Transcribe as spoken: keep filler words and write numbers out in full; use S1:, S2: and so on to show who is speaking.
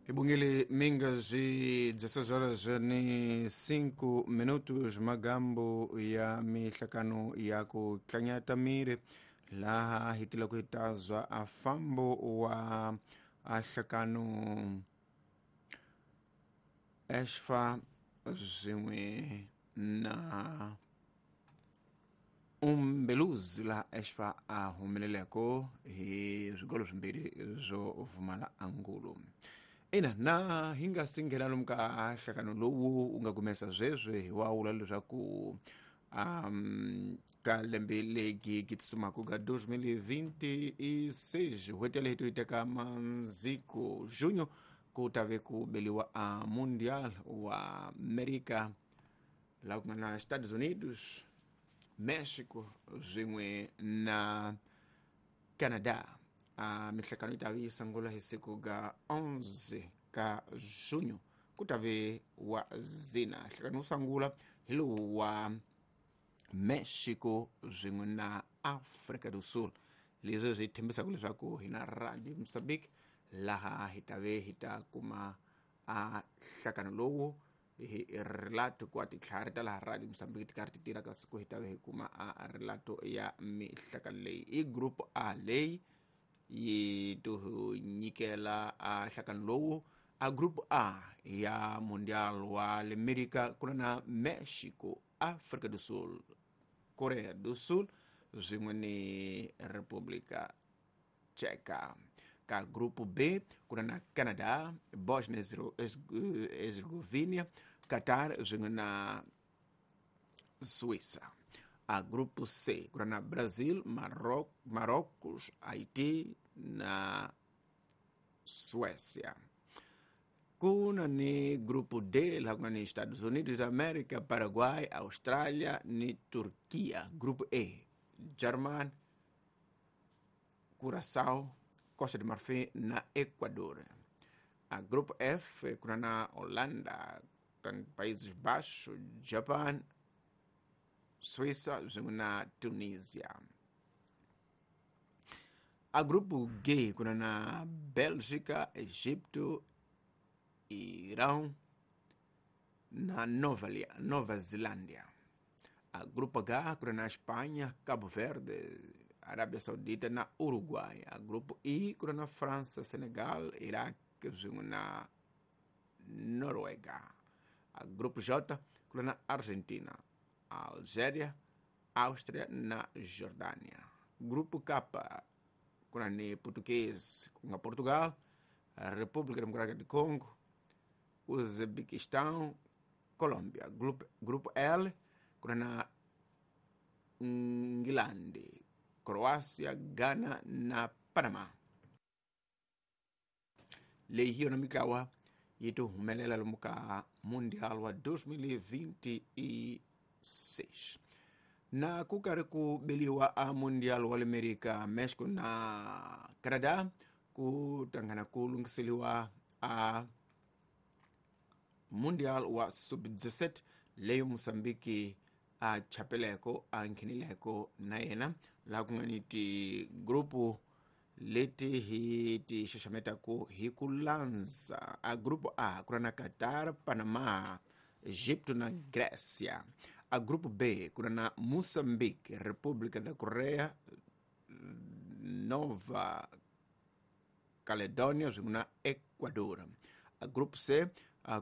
S1: Ibungili mingazi dezesseis horas ni cinco minutos magambo ya mihlakano ya ku tlanyata miri laha hi tila ku hitazwa a fambo wa ahlakano Eshfa swin'we na Umbeluzi laha Eshfa a humeleleko hi swigolo swimbirhi swo vumala angulo. Ina na hi nga si nghena lomu ka nhlakano lowu wu nga kumesa sweswi hi wa vula leswaku um ka lembe legi ki tsumaka ka dois mil e vinte e seis n'hweti yaleyo to yi teka manziko junho ku ta ve ku beliwa a Mundial wa Amerika laha ku nga na Estados Unidos, Mexico swin'we na Canada. A mihlakano yi ta ve yi sungula hi siku ga onze ka junho ku ta ve wa zina. Nhlakano wo sungula hi lowu wa Mexico swin'we na Afrika do Sul, leswi swi tshembisaka leswaku hi na Radio Mozambique laha hi ta ve hi ta kuma a nhlakano lowu hi relato ku titlhari ta laha Radio Mozambique ti karhi ti tirha ka siku hi ta ve hi kuma a relato ya mihlakano leyi. I group A leyi yi to nyikela a nhlakano lowu. A group A ya Mundial wa le Amerika ku na na Mexico, Afrika do Sul, Korea do Sul swin'we ni República Tcheca. Ka grupo B ku na na Canada, Bosnia Herzegovina, Qatar swin'we na Suíça. A grupo C ku na na Brazil, Maroc, Marrocos, Haiti na Suécia. Ku na ni grupo D laha ku nga ni Estados Unidos da América, Paraguay, Austrália ni Turquia. Grupo E, German, Curaçao, Costa de Marfim na Equador. A grupo F ku na na Holanda, Países Baixos, Japan, Suíça swin'we na Tunisia. A grupo G ku na na Bélgica, Egipto, Irão na Nova, Nova Zelândia. A grupo H ku na na Espanha, Cabo Verde, Arábia Saudita na Uruguai. A grupo I ku na na França, Senegal, Iraque swin'we na Noruega. A grupo J ku na na Argentina, Algéria, Áustria na Jordânia. Grupo K ku na ni Português ku nga Portugal, República Democrática do Congo, Uzbequistão, Colômbia. Grupo, grupo L ku na na Ingilande, Croácia, Ghana na Panamá. Leyi hi yona mintlawa yi ti humelela lomu ka Mundial wa dois mil e vinte e seis. Na ku karhi ku beliwa a Mundial wa le Amerika, Mexico na Canada ku tangana ku lunghiseliwa a Mundial wa sub dezessete leyi Mozambique a chapeleko a nghenileko na yena laha ku nga ni tigrupu leti hi ti xaxametaku hi ku landza. A grupo A ku ri na Qatar, Panama, Egipto na Grécia. A grupo B ku ri na Moçambique, República da Coreia, Nova Caledônia swin'we na Equador. A grupo C ku na